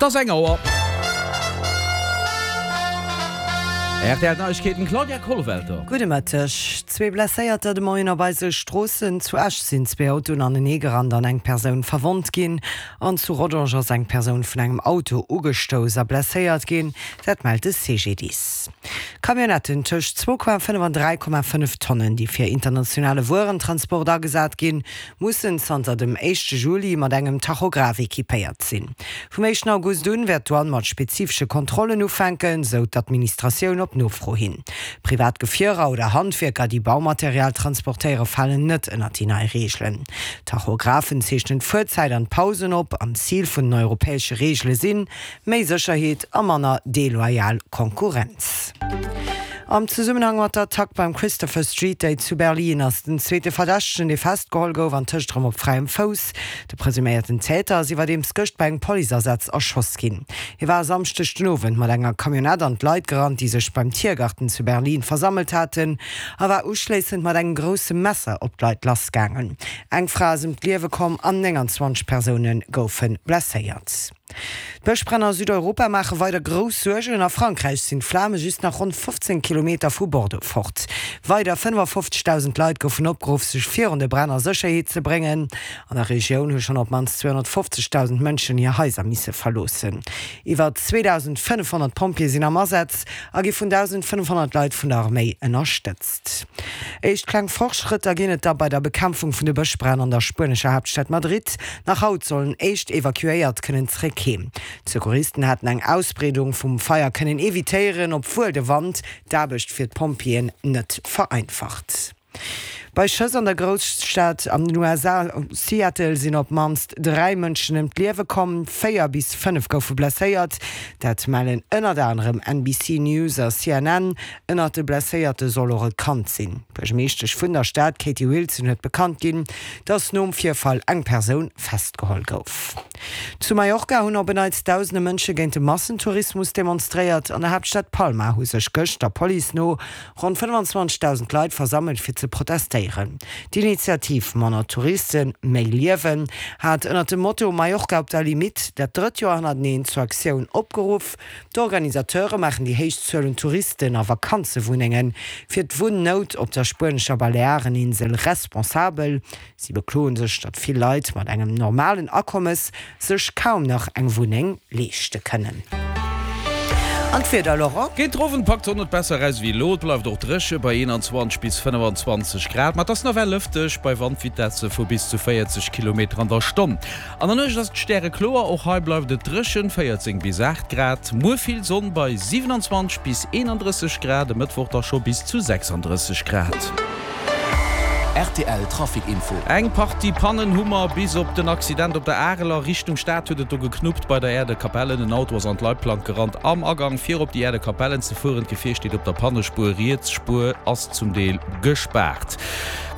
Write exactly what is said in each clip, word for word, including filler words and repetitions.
Et ass eng Auer. Rtl Neiegkeeten, Claudia Kollwelter. Gudde Mëtteg. Zwee Blesséierter de Moien op eise Stroossen. Zu Esch sinn zwee Autoen anenee gerannt an eng Persoun verwonnt ginn. An zu Rodange ass eng Persoun vun engem Auto ugestouss a blesséiert ginn. Dat mellt de CGDIS. Camionnetten tëscht zwou Komma fënnef an dräi Komma fënnef Tonnen, déi fir internationale Wuerentransport agesat ginn, mussen zanter dem éischte Juli mat engem Tachograph equipéiert sinn. Vum éischten August un wäert d'Douane mat spezifesche Kontrollen ufänken, sou d'Administratioun op Nofro hin. Privat Gefierer oder Handwierker, déi Baumaterial transportéiere falen net ënnert déi nei Reegelen. Tachographen zeechnen d'Fuerzäit an d'Pausen op an d'Zil vun den europäesche Reegele sinn, méi Sécherheet a manner deloyal Konkurrenz. Am Zesummenhang mat der Attack beim Christopher Street Day zu Berlin ass den zweete Verdächtegen, dee festgeholl gouf, an tëscht erëm op fräiem Fouss. De presuméierten Täter ass iwwerdeems gëscht bei engem Policeasaz erschoss ginn. Hie war e Samschdeg den Owend mat enger Camionnette an d'Leit gerannt, déi sech beim Tiergarten zu Berlin versammelt haten, a war uschléissend mat engem grousse Messer op d'Leit lassgaangen. Eng Fra ass ëm d'Liewe komm an nénganzwanzeg Persoune goufe blesséiert. D'Bëschbränn a Südeuropa maache weider grouss Suergen. A Frankräich sinn d'Flame just nach ronn fofzéng Kilometer vu Bordeaux fort. Weider fënnefafofzegdausend Leit goufen opgeruff, sech virun de Bränn a Sécherheet ze bréngen. An der Regioun hu schonn op d'mannst zweehonnertfofzegdausend Mënschen hir Haiser misse verloossen. Iwwer zweedausendfënnefhonnert Pompjeeë sinn am Asaz a gi vun dausendfënnefhonnert Leit vun der Arméi ënnerstëtzt. Éischt kleng Fortschrëtter ginn et da bei der Bekämpfung vun de Bëschbränn an der spuenescher Haaptstad Madrid. Nach haut sollen éischt Evakuéiert kënnen zréck heem. D'Secouristen haten eng Ausbreedung vum Feier kënnen evitéieren, obwuel de Wand d'Aarbecht fir d'Pompjeeën net vereinfacht. Bei Schëss an der Grousstad an den U S A Seattle sinn op d'mannst dräi Mënschen ëm d'Liewe komm, véier bis fënnef goufe blesséiert. Dat mellen ënnert anerem N B C News a C N N. Ënnert de Blesséierte soll och e Kand sinn. D'Buergermeeschtesch vun der Stad Katie Wilson huet bekannt ginn, datt nom Virfall eng Persoun festgeholl gouf. Zu Mallorca hunn op en Neits dausende Mënsche géint de Massentourismus demonstréiert. An der Haaptstad Palma hu sech gëscht der Police no ronn fënnefanzwanzegdausend Leit versammelt fir ze protestéieren. D'Initiativ Manner Touristen, méi Liewen hat ënnert dem Motto Mallorca op der Limitt dat drëtt Joer hannerteneen zur Aktioun opgeruff. D'Organisateure maachen déi héich Zuel un Touristen a Vakanzewunnenge fir d'Wunnout op der spuenescher Baleareninsel responsabel. Si bekloen sech, datt vill Leit mat engem normalen Akommes sech kaum nach eng Wunneng leeschte kënnen. An d'Wieder, Laurent? Géint den Owend packt d'Sonn et besser eraus wéi elo. Et bleift och dréche bei eenanzwanzeg bis fënnefanzwanzeg Grad, ma et ass nawell lëfteg bei Wandvitesse vu bis zu véierzeg Kilometer an der Stonn. An der Nuecht ass et stärekloer, och hei bleift et dréchen, véierzéng bis aacht Grad. Muer vill Sonn bei siwenanzwanzeg bis eenandrësseg Grad, e Mëttwoch da scho bis zu sechsandrësseg Grad. Rtl Trafic Info. Eng Partie Pannen hu mer, bis op den Accident op der Areler. Richtung Stad huet et do geknuppt bei der Aire de Capellen. En Auto ass an d'Leitplank gerannt am Agang fir op déi Aire de Capellen ze fueren. D'Gefier steet op der Pannespuer, riets Spuer ass zum Deel gespaart.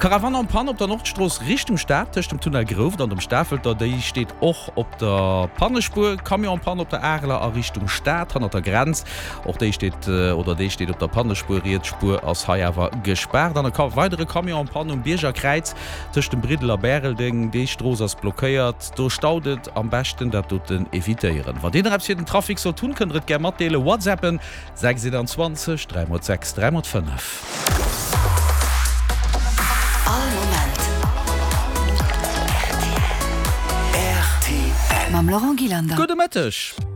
Caravane en panne op der Nordstrooss Richtung Stad tëscht dem Tunnel Grouft an dem Stafelter, déi steet och op der Pannespuer. Camion en panne op der Areler a Richtung Stad hannert der Grenz, och déi steet oder dee steet op der Pannespuer, riets Spuer ass hei awer gespaart. An e weidere Camion en panne um Bierger Kräiz tëscht dem Briddel a Bäreldeng, déi Strooss ass blockéiert, do staut et, am beschten dat doten evitéieren. Wann dir nach eppes fir den Trafic sollt hunn, kënnt der et gär matdeelen, WhatsAppen sechs einundzwanzeg dräi mol sechs dräi mol fënnef. All Moment R T L. Mam Laurent Gillander. Gudde Mëtteg.